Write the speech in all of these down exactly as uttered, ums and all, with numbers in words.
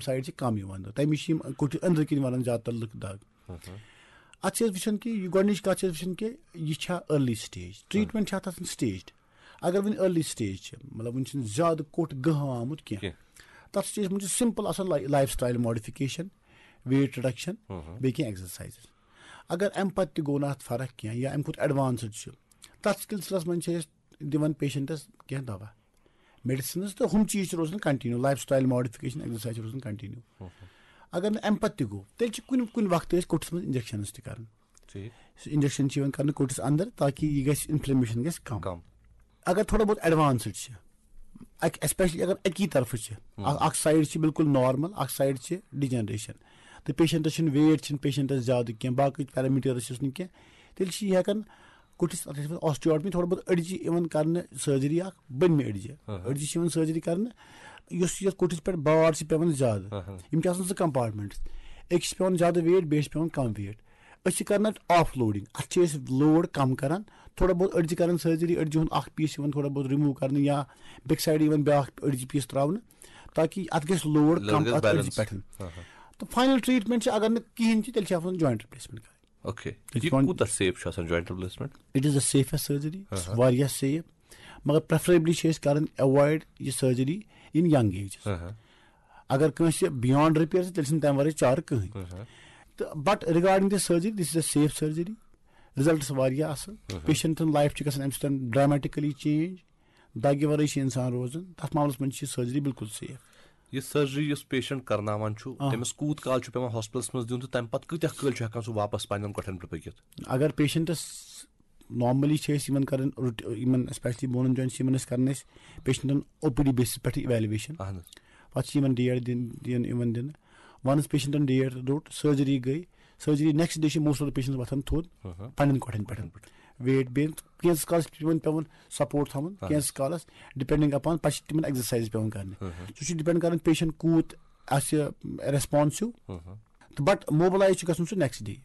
Side چھِ کم یِوان دَگ، تَمہِ چھِ یِم کوٚٹھِس أنٛدرٕ کِنۍ وَنان زیادٕ تر لُکھ دَگ۔ اَتھ چھِ أسۍ وٕچھان کہِ یہِ گۄڈٕنِچ کَتھ چھِ أسۍ وٕچھان کہِ یہِ چھا ارلی سٹیج، ٹریٹمنٹ چھا تَتھ سٹیج۔ اگر وٕنہِ ارلی سٹیج چھِ، مطلب وٕنہِ چھُنہٕ زیادٕ کوٚٹ گٔہہ آمُت کینٛہہ، کینٛہہ۔ تَتھ سٹیج منٛز چھِ سمپل آسان لایف سٹایل ماڈیفکیشن، ویٹ رِڈکشن، بیٚیہِ کینٛہہ ایکسرسایزز۔ اگر اَمہِ پتہٕ تہِ گوٚو نہٕ اَتھ فرق کینٛہہ یا اَمہِ کھۄتہٕ ایڈوانسڈ چھُ، تَتھ سلسلس منٛز چھِ أسۍ دِوان پیشنٹس کینٛہہ دوا، میڈیسنز تہٕ ہُم چیٖز چھِ روزان کنٹِنیو، لایف سٹایل ماڈیفکیشن، ایکسرسایز چھِ روزان کنٹِنیو۔ اگر نہٕ اَمہِ پتہٕ تہِ گوٚو، تیٚلہِ چھِ کُنہِ کُنہِ وقتہٕ أسۍ کوٚٹھِس منٛز انجیکشنز تہِ کران۔ ٹھیٖک۔ سُہ انجیکشن چھِ یِوان کرنہٕ کوٚٹھِس اندر، تاکہِ یہِ گژھِ، انفلیمیشن گژھِ کم۔ کم۔ اگر تھوڑا بہت ایڈوانسڈ چھِ، اکھ، اسپیشلی اگر اکی طرفہٕ چھِ، اکھ، اکھ سایڈ چھِ بالکل نارمل، اکھ سایڈ چھِ ڈیجنریشن، تہٕ پیشنٹس چھُنہٕ ویٹ، چھِنہٕ پیشنٹس زیادٕ کینٛہہ، باقٕے پیرامیٹرس چھِس نہٕ کینٛہہ، تیٚلہِ چھِ یہِ ہٮ۪کان کوٚٹھِس، اتھ ٲسۍ وَنان osteotomy، تھوڑا بہت أڈجہِ یِوان کرنہٕ سرجری، اکھ بٔنمہِ أڈجہِ۔ ہاں۔ أڈجہِ چھِ یِوان سرجری کرنہٕ، یُس یَتھ کوٚٹھِس پٮ۪ٹھ بار چھِ پٮ۪وان زیادٕ۔ ہاں، ہاں۔ یِم چھِ آسان زٕ کمپارٹمنٹس، أکِس چھِ پٮ۪وان زیادٕ ویٹ، بیٚیِس چھِ پٮ۪وان کم ویٹ۔ أسۍ چھِ کران اَتھ آف لوڈنگ، اَتھ چھِ أسۍ لوڈ کم کران، تھوڑا بہت أڈجہِ کران سرجری، أڈجہِ ہُنٛد اکھ پیٖس یِوان تھوڑا بہت رِموٗو کرنہٕ یا بیٚکہِ سایڈٕ یِوان بیٛاکھ أڈجہِ پیٖس تراونہٕ، تاکہِ اَتھ گژھِ لوڈ لوڈ کم گژھِ اَتھ أڈجہِ balance۔ پٮ۪ٹھ۔ ہاں، ہاں۔ تہٕ فاینل ٹریٹمنٹ چھِ، اگر نہٕ کِہینۍ چھِ، تیٚلہِ چھِ آسان جوینٹ رِپلیسمنٹ کرٕنۍ۔ اوکے۔ تیٚلہِ یہِ چھُ پٮ۪وان کوٗتاہ سیف چھُ آسان جوینٹ رِپلیسمنٹ؟ It is the safest surgery، ہاں، ہاں۔ واریاہ سیف، مگر پریفریبلی چھِ أسۍ کران ایوایڈ یہِ سرجری in young ages۔ ہاں، ہاں۔ اگر کٲنٛسہِ بیانڈ ریپیئر چھِ، تیٚلہِ چھِنہٕ تَمہِ ورٲے چارٕ کٕہٕنۍ۔ ہاں، ہاں۔ تہٕ but regarding the surgery, this is a safe surgery، results واریاہ اَصٕل، ہاں، ہاں۔ پیشنٹن لایف چھِ گژھان اَمہِ سۭتۍ ڈرامیٹکلی چینج، دگہِ ورٲے چھِ انسان روزان، تَتھ معاملس منٛز چھِ یہِ سرجری بالکل سیف۔ یہِ سرجری یُس پیشنٹ کرناوان چھُ، آ۔ تٔمِس کوٗت کال چھُ پٮ۪وان ہاسپٹلس منٛز دیُن تہٕ تَمہِ پتہٕ کۭتیاہ کٲلۍ چھُ ہٮ۪کان سُہ واپس پننٮ۪ن کۄٹھٮ۪ن پٮ۪ٹھ پٔکِتھ؟ اگر پیشنٹس نارملی چھِ أسۍ یِمن کران روٹ-، یِمن اسپیشلی بونن جوینٹس، یِمن أسۍ کران أسۍ پیشنٹن او پی ڈی بیسس پٮ۪ٹھ ایویلویشن۔ اہن حظ۔ پتہٕ چھِ یِمن ڈیٹ دِن، دِن، یِوان دِنہٕ۔ ونس پیشنٹن ڈیٹ روٚٹ، سرجری گٔے، سرجری نیکسٹ ڈے چھِ موسٹ آف پیشنٹس وۄتھان تھوٚد، ہاں، ہاں۔ پننٮ۪ن کۄٹھٮ۪ن پٮ۪ٹھ۔ ویٹ بیٚیہِ کینٛژس کالس چھِ تِمن پٮ۪وان سپورٹ تھاوُن، ہاں۔ کینٛژس کالس ڈِپینڈنگ اپان پتہٕ چھِ تِمن ایکسرسایز پٮ۪وان کرنہِ۔ ہاں، ہاں۔ سُہ چھُ ڈِپینڈ کران پیشنٹ کوٗت آسہِ ریسپانسو۔ ہاں، ہاں۔ تہٕ but موبلایز چھُ گژھُن سُہ نیکسٹ ڈے۔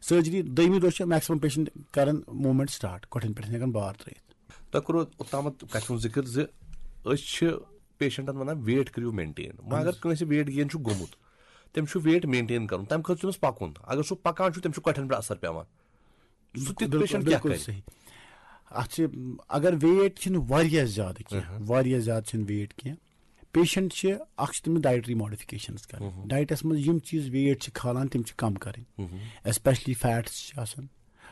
سرجری دوٚیمہِ دۄہ چھِ میکسِمم پیشنٹ کران موومینٹ سٹارٹ، کۄٹھٮ۪ن پٮ۪ٹھ ہٮ۪کان بار ترٲیِتھ۔ تۄہہِ کوٚروٕ اوٚتامَتھ کَتھِ ہُنٛد ذِکِر زِ أسۍ چھِ پیشنٹن وَنان ویٹ کٔرِو مینٹین۔ وۄنۍ اگر کٲنٛسہِ ویٹ گین چھُ گوٚمُت، تٔمِس چھُ ویٹ مینٹین کَرُن، تَمہِ خٲطرٕ چھُ تٔمِس پَکُن۔ اگر سُہ پَکان چھُ، تٔمِس چھُ کۄٹھٮ۪ن پٮ۪ٹھ اَثر پٮ۪وان۔ سُہ تیُتھ بِلکُل، پیشنٹ کیٛاہ بِلکُل کَرِ؟ صحیح۔ اَتھ چھِ، اگر ویٹ چھِنہٕ واریاہ زیادٕ کینٛہہ، واریاہ زیادٕ چھِنہٕ ویٹ کینٛہہ، پیشنٹ چھِ، اَکھ چھِ تٔمِس ڈایٹری ماڈیفِکیشنز کَرٕنۍ۔ ڈایٹَس منٛز یِم چیٖز ویٹ چھِ کھالان، تِم چھِ کَم کَرٕنۍ۔ اسپیشلی فیٹس چھِ آسان،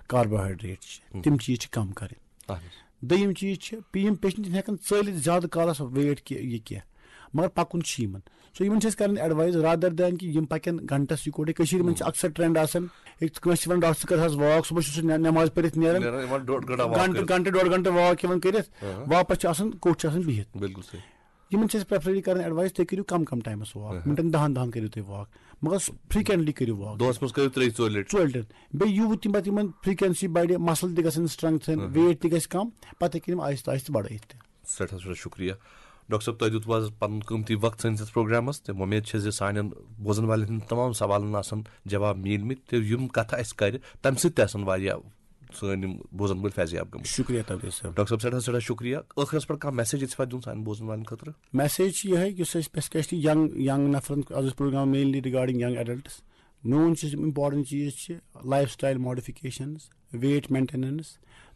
کاربوہائیڈریٹ چھِ، تِم چیٖز چھِ کَم کَرٕنۍ۔ اہن حظ۔ دوٚیِم چیٖز چھِ، یِم پیشنٹ چھِنہٕ ہٮ۪کان ژٲلِتھ زیادٕ کالَس ویٹ کہِ یہِ کینٛہہ، مگر پَکُن چھُ یِمَن۔ سو یِمَن چھِ أسۍ کَران ایڈوایز رادر دین کہِ یِم پَکن گھنٹَس یِکوَٹَے۔ کٔشیٖرِ منٛز چھِ اکثر ٹرینڈ آسان، ییٚتہِ کٲنٛسہِ چھِ وَنان، "ڈاکٹر صٲب، کر حظ واک، صُبحس چھُ سُہ نٮ۪-، نٮ۪ماز پٔرِتھ نیران، نیران یِوان ڈۄڈ گھنٹہٕ واک گھنٹہٕ، کٔرِتھ۔" ڈۄڈ گھنٹہٕ واک یِوان کٔرِتھ، واپَس چھِ آسان، کوٚٹ چھِ آسان بِہِتھ۔ بِلکُل صحیح۔ یِمَن چھِ أسۍ پریفرلی کَران ایڈوایز، تُہۍ کٔرِو کَم کَم ٹایمَس واک، مِنٹَن دَہَن دَہَن کٔرِو تُہۍ واک، مگر فریکوینٹلی کٔرِو واک۔ دۄہَس منٛز کٔرِو ترٛیٚیہِ ژورِ لَٹہِ۔ ژورِ لَٹہِ۔ بیٚیہِ یوٗت تِم پَتہٕ یِمَن فریکوینسی بَڑِ، مَسل تہِ گژھن سٹرٛنٛگتھن، ویٹ تہِ گژھِ کَم، پَتہٕ ہیٚکن یِم آہِستہٕ آہِستہٕ بَڑٲیِتھ تہِ۔ سٮ۪ٹھاہ سٮ۪ٹھاہ شُکریہ۔ ڈاکٹر صٲب، تۄہہِ دیُتوٕ آز پَنُن قۭمتی وقت سٲنِس یَتھ پروگرامَس، تہٕ وۄمید چھِ زِ سانٮ۪ن بوزَن والٮ۪ن ہٕنٛدٮ۪ن تمام سوالَن آسَن جواب میٖلمٕتۍ، تہٕ یِم کَتھٕ اَسہِ کَرِ، تَمہِ سۭتۍ تہِ آسَن واریاہ سٲنۍ یِم بوزَن وٲلۍ فیض یاب گٔمٕتۍ۔ شُکریہ تبریز صٲب۔ ڈاکٹر صٲب، سٮ۪ٹھاہ سٮ۪ٹھاہ شُکریہ۔ ٲخرَس پٮ۪ٹھ کانٛہہ میسیج ییٚژھِ دِیُن سانٮ۪ن بوزَن والٮ۪ن خٲطرٕ؟ میسیج چھِ یِہوٚے، یُس اَسہِ اسپیشلی ینگ، ینگ نفرَن، از اوس programme mainly regarding young adults. میون چھُ امپورٹنٹ چیٖز چھِ life style modifications, weight maintenance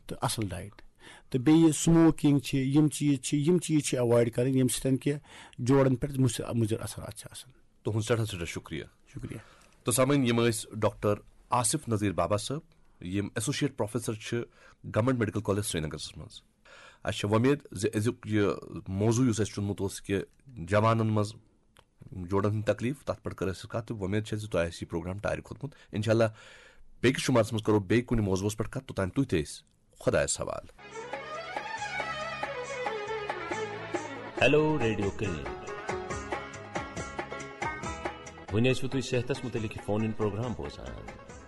تہٕ اصل ڈائٹ۔ تہٕ بیٚیہِ سموکنگ چھِ، یِم چیٖز چھِ، یِم چیٖز چھِ ایوائڈ کرٕنۍ، ییٚمہِ سۭتۍ کہِ جوڑن پٮ۪ٹھ مُضر، مُضر اثرات چھِ آسان۔ تُہُنٛد سٮ۪ٹھاہ سٮ۪ٹھاہ شُکریہ۔ شُکریہ۔ تہٕ سامعیٖن، یِم ٲسۍ ڈاکٹر آصف نذیر بابا صٲب، یِم ایسوسیٹ پروفیسر چھِ گورنمنٹ میڈیکل کالج سرینگرس منٛز۔ اَسہِ چھِ وۄمید زِ أزیُک یہِ موضوع یُس اَسہِ چُنمُت اوس کہِ جوانن منٛز جوڑن ہٕنٛز تکلیف، تَتھ پٮ۪ٹھ کٔر اَسہِ کَتھ، تہٕ وۄمید چھےٚ زِ تۄہہِ آسہِ یہِ پروگرام ٹارِ کھوٚتمُت۔ انشاءاللہ بیٚکِس شُمارس منٛز کرو بیٚیہِ کُنہِ موضوعس پٮ۪ٹھ کَتھ، توٚتام تُہۍ تہِ ٲسۍ خۄدایس حوالہٕ۔ Hello radio clinic. وۄنۍ ٲسِو تُہۍ صحتس مُتعلق یہِ فون اِن پروگرام بوزان۔